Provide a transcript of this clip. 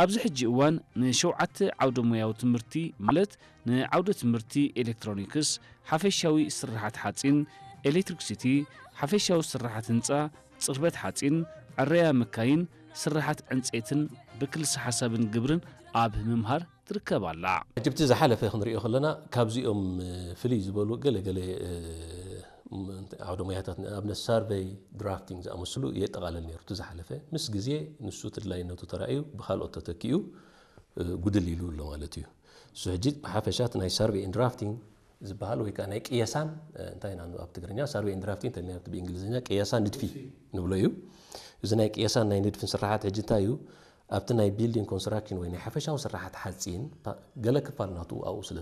ኣብዚ ሕጂ እዋን ንሸውዓተ ዓውደ ሞያዊ ትምህርቲ ማለት ንዓውደ ትምህርቲ ኤሌክትሮኒክስ፣ ሓፈሻዊ ስርሓት ሓፂን፣ ኤሌክትሪክሲቲ፣ ሓፈሻዊ ስርሓት ህንፃ፣ ፅርበት ሓፂን፣ ዕረያ መካይን፣ ስርሓት ዕንፀይትን ብክልሲ ሓሳብን ግብርን ኣብ ምምሃር ትርከብ ኣላ። ሕጂ ብቲ ዝሓለፈ ክንሪኦ ከለና ካብዚኦም ፍልይ ዝበሉ ገለገለ ዓውደ ሞያታት ንኣብነት ሳርቨይ ድራፍቲንግ ዝኣመስሉ የጠቓለል ነይሩ። እቲ ዝሓለፈ ምስ ግዜ ንሱ ተድላይነቱ ተራእዩ ብካልኦት ተተኪኡ ጉድል ኢሉ ኣሎ ማለት እዩ። እሱ ሕጂ ብሓፈሻ እቲ ናይ ሳርቨይ ድራፍቲንግ ዝበሃል ወይ ከዓ ናይ ቅየሳን እንታይ ኢና ኣብ ትግርኛ ሳርቨይ ድራፍቲንግ ተልና ብእንግሊዝኛ ቅየሳ ንድፊ ንብሎ እዩ። እዚ ናይ ቅየሳን ናይ ንድፍን ስራሓት ሕጂ እንታይ እዩ ኣብቲ ናይ ቢልዲንግ ኮንስትራክሽን ወይ ናይ ሓፈሻዊ ስራሓት ሓፂን ገለ ክፋል ናቱ ኣብኡ ስለ